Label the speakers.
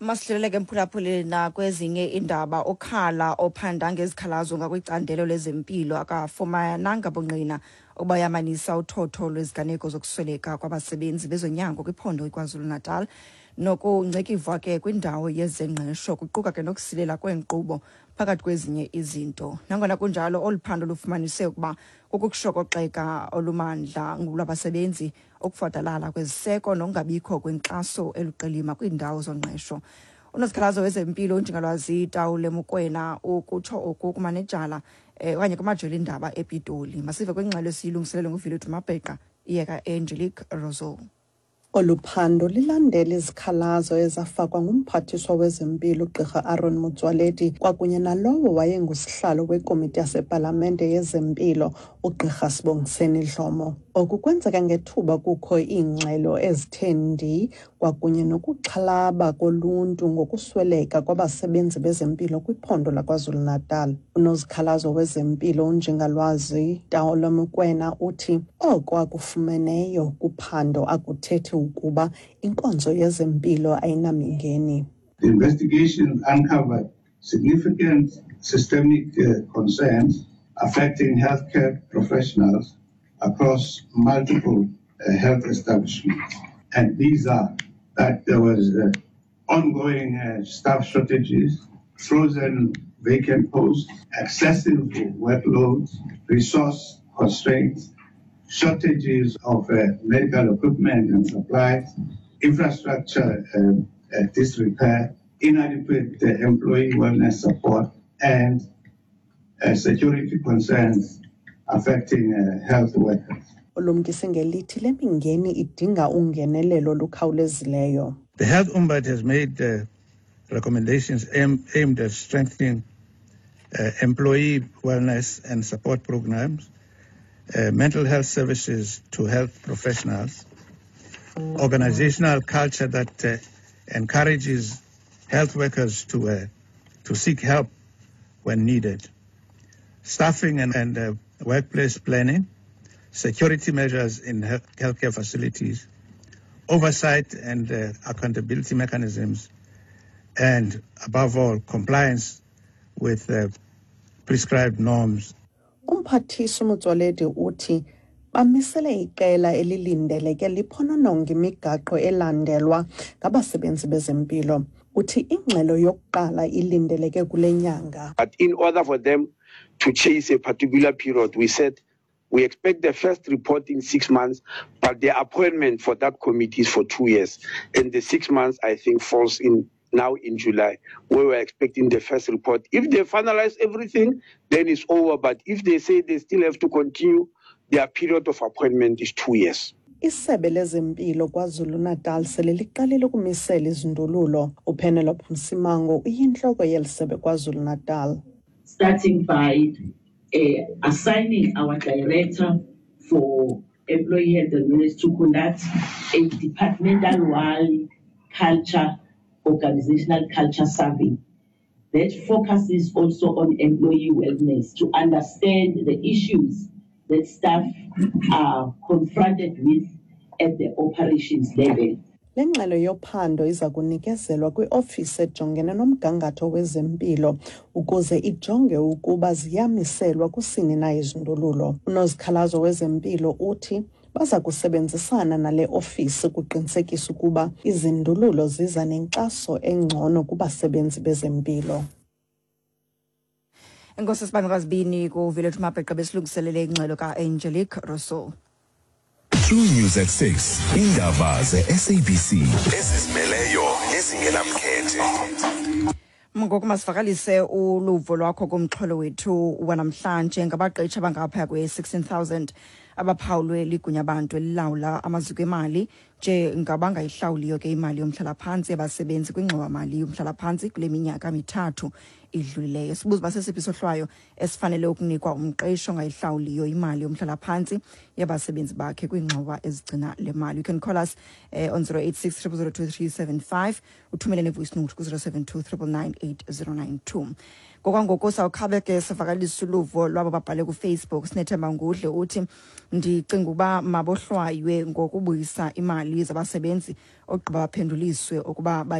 Speaker 1: Masidlulele ke, mphulaphuli, nakwezinye iindaba. Okhala ophanda ngezikhalazo ngakwicandelo lezempilo akafumananga bungqina obayamanisa uthotho lweziganeko zokusweleka kwabasebenzi bezonyango kwiphondo iKwaZulu-Natal nokungcikivwa ke kwindawo yezengqesho, kuquka ke nokusilela kweenkqubo, phakathi kwezinye izinto. Nangona kunjalo, olu phando lufumanise ukuba kukushokoxeka olumandla lwabasebenzi, ukufadalala kweziseko nokungabikho kwenkxaso eluqilima kwiindawo zongqesho. Unozikhalazo wezempilo uNjingalwazi Tawule Mokoena ukutsho oku kumanejala okanye kumajelo indaba ePitoli. Masive kwingxelo esiyilungiselele nguVilethu Mabheqa iyeka Angelique Rousseau.
Speaker 2: Olu phando lilandela izikhalazo ezafakwa nguMphathiswa wezeMpilo uGqirha Aaron Motsoaledi kwakunye nalowo wayengusihlalo wekomiti yasepalamente yezempilo uGqirha Sibongiseni Dhlomo. Oku kwenzeka ngethuba kukho iingxelo ezithe ndi kwakunye nokuxhalaba koluntu ngokusweleka kwabasebenzi bezempilo kwiphondo laKwaZulu-Natal. Unozikhalazo wezempilo uNjingalwazi Taolo Mokoena uthi oko akufumeneyo kuphando akuthethi ukuba inkonzo yezempilo ayinamingeni.
Speaker 3: The investigation uncovered significant systemic concerns affecting healthcare professionals across multiple health establishments. And these are that there was ongoing staff shortages, frozen vacant posts, excessive workloads, resource constraints, shortages of medical equipment and supplies, infrastructure disrepair, inadequate employee wellness support, and security concerns affecting health workers.
Speaker 2: Ulumkise ngelithi le mingeni idinga ungenelelo olukhawulezileyo.
Speaker 4: The Health Ombud has made recommendations aimed at strengthening employee wellness and support programs, mental health services to health professionals, organizational culture that encourages health workers to seek help when needed, staffing and workplace planning, security measures in healthcare facilities, oversight and accountability mechanisms, and above all, compliance with prescribed norms.
Speaker 2: Umphathiswa Motsoaledi uthi bamisele iqela elilindeleke liphonononge imigaqo elandelwa ngabasebenzi bezempilo. Uthi ingxelo yokuqala ilindeleke kule nyanga.
Speaker 5: But in order for them to chase a particular period, we said we expect the first report in 6 months, but the appointment for that committee is for 2 years. And the 6 months, I think, falls in now in July, where we're expecting the first report. If they finalize everything, then it's over. But if they say they still have to continue, their period of appointment is 2 years.
Speaker 2: Isebe lezempilo KwaZulu-Natal sele liqalile ukumisela izindululo. UPenelope Msimango uyintloko yeli sebe KwaZulu-Natal.
Speaker 6: Starting by assigning our director for employee health and wellness to conduct a departmental-wide culture, organizational culture survey that focuses also on employee wellness to understand the issues that staff are confronted with at the operations level.
Speaker 2: Le ngxelo yophando iza kunikezelwa kwiofisi ejongene nomgangatho wezempilo ukuze ijonge ukuba ziyamiselwa kusini na izindululo. Unozikhalazo wezempilo uthi baza kusebenzisana nale ofisi ukuqinisekisa ukuba izindululo ziza nenkxaso engcono kubasebenzi bezempilo.
Speaker 1: Enkosi, sibandakazibini kuVilethu Mabheqa besilungiselele ingxelo ka-Angelique Rousseau.
Speaker 7: True News at 6, indaba ze-SABC ezizimeleyo nezingenamkhethe.
Speaker 1: Ngoku masivakalise uluvo lwakho kumxholo wethu wanamhlanje ngabaqeshi abangaphaya kwe-16,000 abaphawulwe ligunyabantu elilawula amaziko emali njengabangayihlawuliyo ke imali yomhlalaphantsi yabasebenzi kwingxowamali yomhlalaphantsi kule minyaka 3 idlulileyo. Sibuza uba sesiphi isohlwayo esifanele ukunikwa umqeshi ongayihlawuliyo imali yomhlalaphantsi yabasebenzi bakhe kwiingxowa ezigcina le mali. You can call us on 086 0002375, uthumele ne-voice note ku-072 999 8092. Ngokwangoku sawukhabe ke sivakalisa uluvo lwabo babhale kuFacebook. Sinethemba Ngudle uthi, "Ndicinga uba mabohlwaywe ngokubuyisa imali zabasebenzi, ogqiba baphenduliswe ukuba